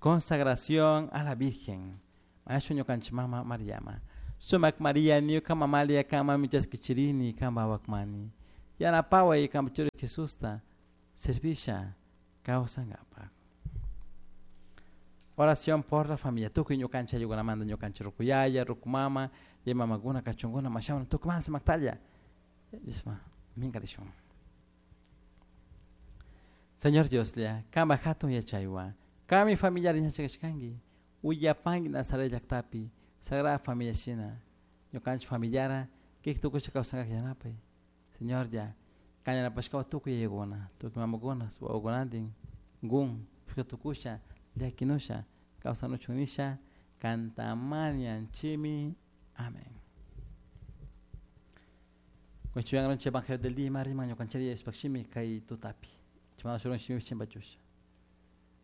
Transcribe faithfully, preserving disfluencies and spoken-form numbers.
Consagración a la Virgen. Mañashun ñukanchik mama Mariama. Sumak Maria ñuka mamalia kanmanmi chaskichirini kanpak wawakmani. Yanapaway kanpak churi Jesusta servisha kawsankapak. Oración por la familia. Tukuy ñukanchik ayllukunamanta ñukanchik ruku yaya, ruku mama, y mamakuna kachunkuna mashawan tukuy sumaktalla. Isma, minkarishun. Señor Dioslla, kanpak hatun yachaywan, kanmi familiar yachachishkanki, uyapanki Nazaret llaktapi, Sagrada Familia shina, ñukanchik familiara, kik tukusha kawsankak yanapay. Señor ya, kan yanapashkawan tukuy yayakuna, tukuy mamakuna, wawakunantin, gun, tukusha, llakinusha, kawsanuchun nisha, kantamañanchimi. Amén. Evangelio del día, riman ñukanchik Diospaj shimi kay tutapi. Chimana shurun shimi chimpachusha.